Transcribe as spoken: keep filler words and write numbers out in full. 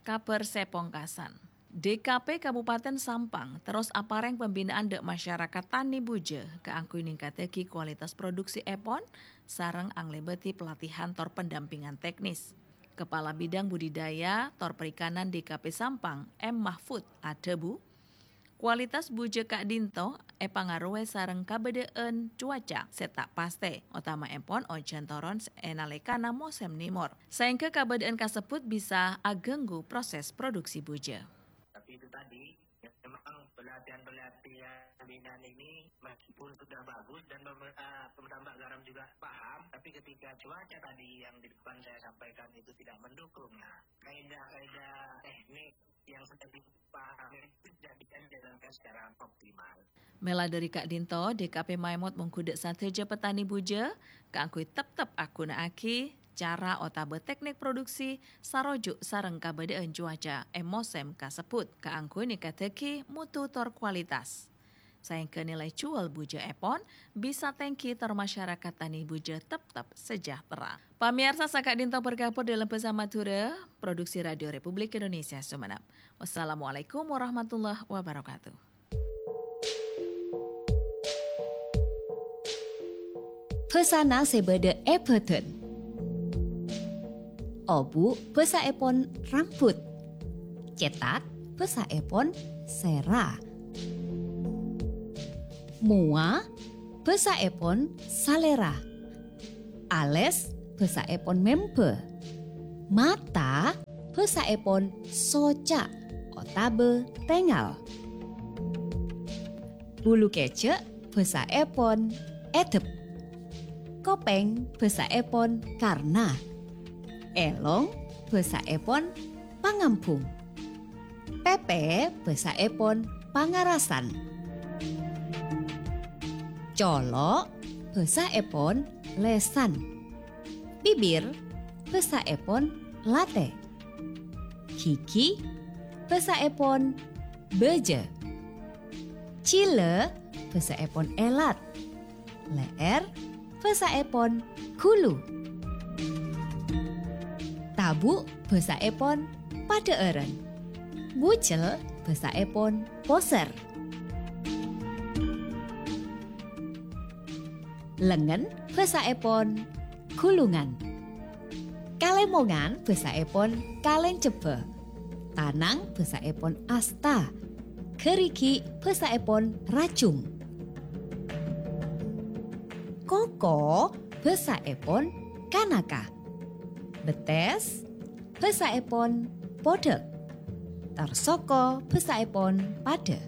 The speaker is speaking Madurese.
Kabhâr sè pongkasan. D K P Kabupaten Sampang terros aparèng pembinaan dâ' masyarakat tani bujâ kaangghuy ningkaddhâghi kualitas produksièpon sareng anglèbâdhi pelatihan tor pendampingan teknis. Kepala Bidang Budidaya tor Perikanan D K P Sampang, M Mahfud, adhâbu, kualitas bujâ ka'dinto èpangarowè sareng kabâdâ'ân cuaca sè ta' pastè, otamaèpon ojhân toron è nalèkana mosèm nèmor, saèngghâ kabâdâ'ân kasebbhut bisa aghânggu proses produksi bujâ. Tapi itu tadi, ya, memang pelatihan-pelatihan pembinaan ini meskipun sudah bagus dan pemer-, eh, pemerintah Mbak Garam juga paham, tapi ketika cuaca tadi yang di depan saya sampaikan itu tidak mendukung, nah, kaidah-kaidah teknik yang sudah dipahami itu tidak bisa dijalankan secara optimal. Mèla dâri ka'dinto, D K P maèmot mongghu dâ' sadhâjâ petani bujâ kaangghuy teptep aghunaaghi cara otabâ teknik produksi saroju' sareng kabâdâ'ân cuaca è mosèm kasebbhut kaangghuy ningkaddhâghi mutu tor kualitas. Saèngghâ nilai juwâl bujâèpon bisa tèngghi tor masyarakat tani bujâ teptep sejahtera. Pamèyarsa, saka'dinto parkabhâr dâlem bhâsa Madhurâ, produksi Radio Republik Indonesia Sumenep. Wassalamualaikum warahmatullahi wabarakatuh. Bhâsana sè bâdâ è bhâdhân. Obu' bhâsaèpon rambut. Cètak bhâsaèpon sèra. Mowa bhâsaèpon salèra. Alès bhâsaèpon mèmbâ. Mata bhâsaèpon soca' otabâ tèngal. Bulu kèjhâ' bhâsaèpon èdep. Kopèng bhâsaèpon karna. Èlong bhâsaèpon pangambhung. Pèpè bhâsaèpon pangarasan. Colo' bhâsaèpon lèsan. Bibir bhâsaèpon latè. Ghighi bhâsaèpon bâjâ. Jhilâ bhâsaèpon èlat. Lè'èr bhâsaèpon ghulu. Tabu' bhâsaèpon padhâ'ârân. Bujel bhâsaèpon posèr. Lengngen bhâsaèpon ghulungan. Kalèmongan bhâsaèpon kalèncebbhâ. Tanang bhâsaèpon asta. Ghârighi' bhâsaèpon rajung. Koko bhâsaèpon kanaka. Bettès bhâsaèpon podhâk. Tor soko bhâsaèpon padâ.